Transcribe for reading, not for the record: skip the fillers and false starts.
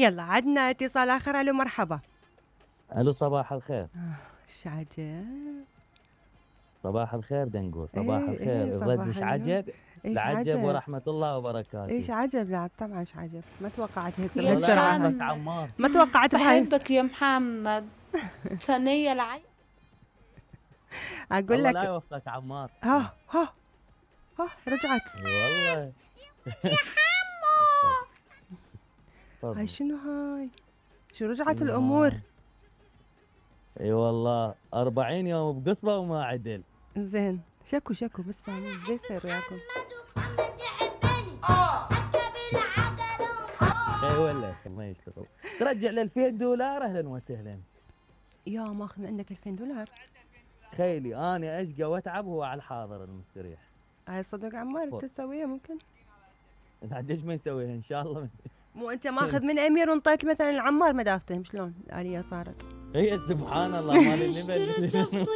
يلا عدنا اتصال آخر. ألو مرحبا. الو صباح الخير. ايش عجب. صباح الخير دنقو، صباح ايه الخير. ايه الرد صباح ايش النور. عجب؟ ايش العجب عجب. ورحمة الله وبركاته. ايش عجب. لا طبعا ايش عجب. ما توقعت هسه يا والله بهالسرعة هاي. يوفقك محمد عمار. ما توقعت بهاي. بحبك يا محمد. ثانية العين. اقول الله لا لك. يوفقك عمار. ها ها ها رجعت. اي والله. هاي تفضل. شنو هاي. شو رجعت شنو الامور. هاي؟ اي والله 40 يوم بقصبة وما عدل. زين شكو شكو بس فاهمين ليش يصير وياكم. اي والله ما يشتغل. ترجع ل $2000 اهلا وسهلا. يا ماخذ من عندك $2000. تخيلي انا اشقى واتعب وهو على الحاضر المستريح. هاي صدق عمار انت تسويها ممكن. عاد ايش ما يسويها ان شاء الله. مو انت ماخذ من امير وانطيت مثلا العمار ما دافتهم شلون الاليه صارت. هي سبحان الله مال النبل.